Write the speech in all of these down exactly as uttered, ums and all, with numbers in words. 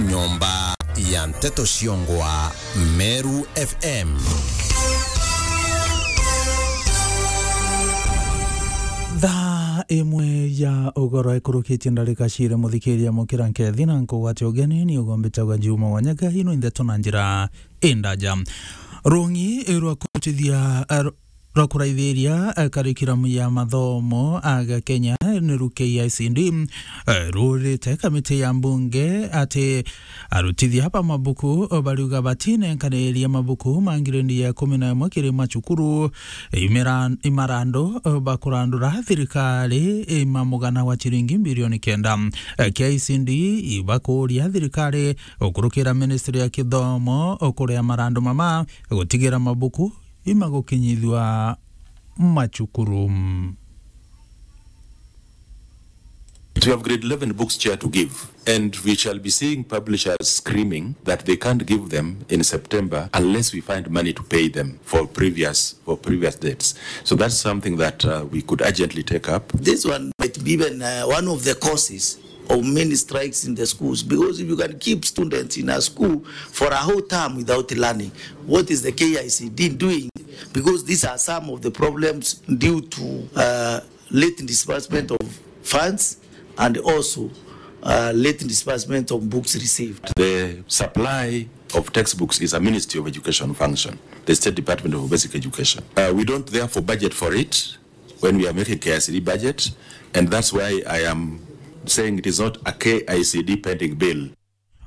Nyomba ya nteto ciongwa Meru F M. Thaa imwe ya ugoro ikurukitie ndarika ciiri, muthikiria mukira nkethi na nkugwate ugeni, ni ugombitagwa Juma Wanyaga, ino ndeto na njira indaja. Rungi rwa kurutithia, eh, rwa kuraithiria, eh, karikiramu ya mathomo aga Kenya, ni ru K I C D, eh, rurite kamiti ya mbunge ati arutithia ba mabuku, eh, bariuga batinenkaniria mabuku ma ngirendi ya ikumi na imwe kiri macukuru, imera-, imarandu, eh, bakurandura thirikari, eh, ma mugana wa ciringi bilioni kenda. Eh, K I C D ibakuria thirikari ukurukira ministry ya kithomo ukuria marandu mama gutigira mabuku imagukinyithua macukuru. We have grade eleven books chair to give, and we shall be seeing publishers screaming that they can't give them in September unless we find money to pay them for previous, for previous dates. So that's something that, uh, we could urgently take up. This one might be even, uh, one of the causes of many strikes in the schools, because if you can keep students in a school for a whole term without learning, what is the K I C D doing? Because these are some of the problems due to, uh, late disbursement of funds and also, uh, late disbursement of books received. The supply of textbooks is a Ministry of Education function, the State Department of Basic Education. Uh, we don't therefore budget for it when we are making K I C D budget, and that's why I am saying it is not a K I C D pending bill.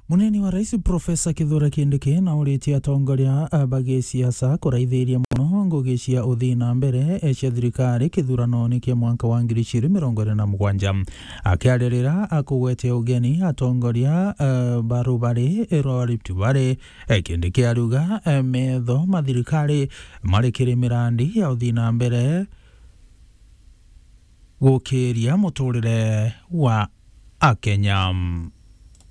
Munini wa Rais Professor Kithure Kindiki nauritie atongoria, eh, ba gisiasa kuraithiria mono ngugi cia uthii na mbere, eh, cia thirikari kithuranoni kia mwanka wa ngiri igiri mirongo iri na mugwanja. Akiaririra akugwetia ugeni atongoria, eh, ba rubari rwa Rift Valley, eh, Kindiki ariuga, eh, metho ma thirikari mari kiri mirandi ya uthii na mbere gukiria muturire wa Akenya.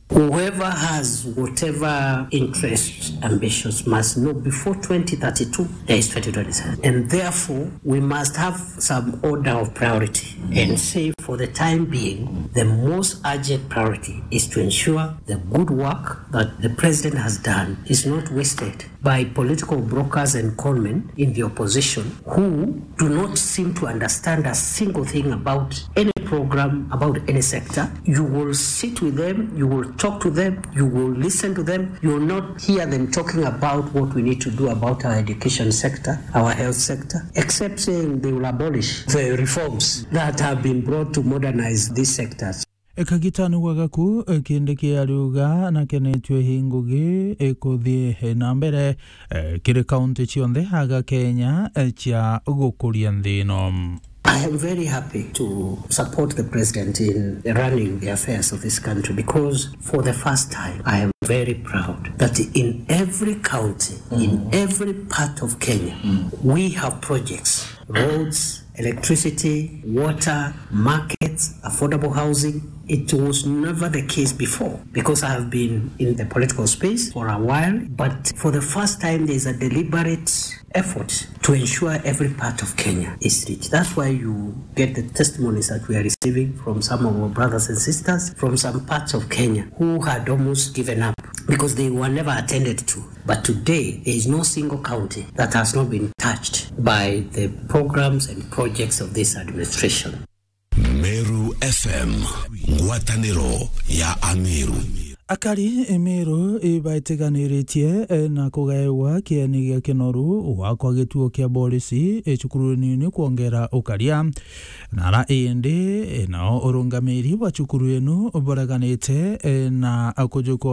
Whoever has whatever interest, ambitions must know before twenty thirty-two, there is twenty twenty-seven. And therefore, we must have some order of priority and say, for the time being, the most urgent priority is to ensure the good work that the president has done is not wasted by political brokers and conmen in the opposition who do not seem to understand a single thing about any program, about any sector. You will sit with them, you will talk to them, you will listen to them, you will not hear them talking about what we need to do about our education sector, our health sector, except saying they will abolish the reforms that have been brought to modernize these sectors. Kagitani wa gaku, eh, Kindiki ariuga nakenetue hi ngugi ikuthii na mbere, eh, kiri kaunti cionthe aga Kenya, eh, cia gukuria nthi ino. I am very happy to support the president in running the affairs of this country, because for the first time, I am very proud that in every county, in every part of Kenya, we have projects, roads, electricity, water, markets, affordable housing. It was never the case before, because I have been in the political space for a while, but for the first time, there is a deliberate effort to ensure every part of Kenya is reached. That's why you get the testimonies that we are receiving from some of our brothers and sisters from some parts of Kenya who had almost given up because they were never attended to. But today, there is no single county that has not been touched by the programs and projects of this administration. Meru F M, ngwataniro ya Ameru. Akari Meru ibaitiganiritie, eh, na kugaewa kieni gia kinoru gwakwa gituo kia borisi, eh, cukuru nini kwongera ukaria. Nara indi, eh, nao urungamiri bwa cukuru inu bureganite, eh, na kujukwa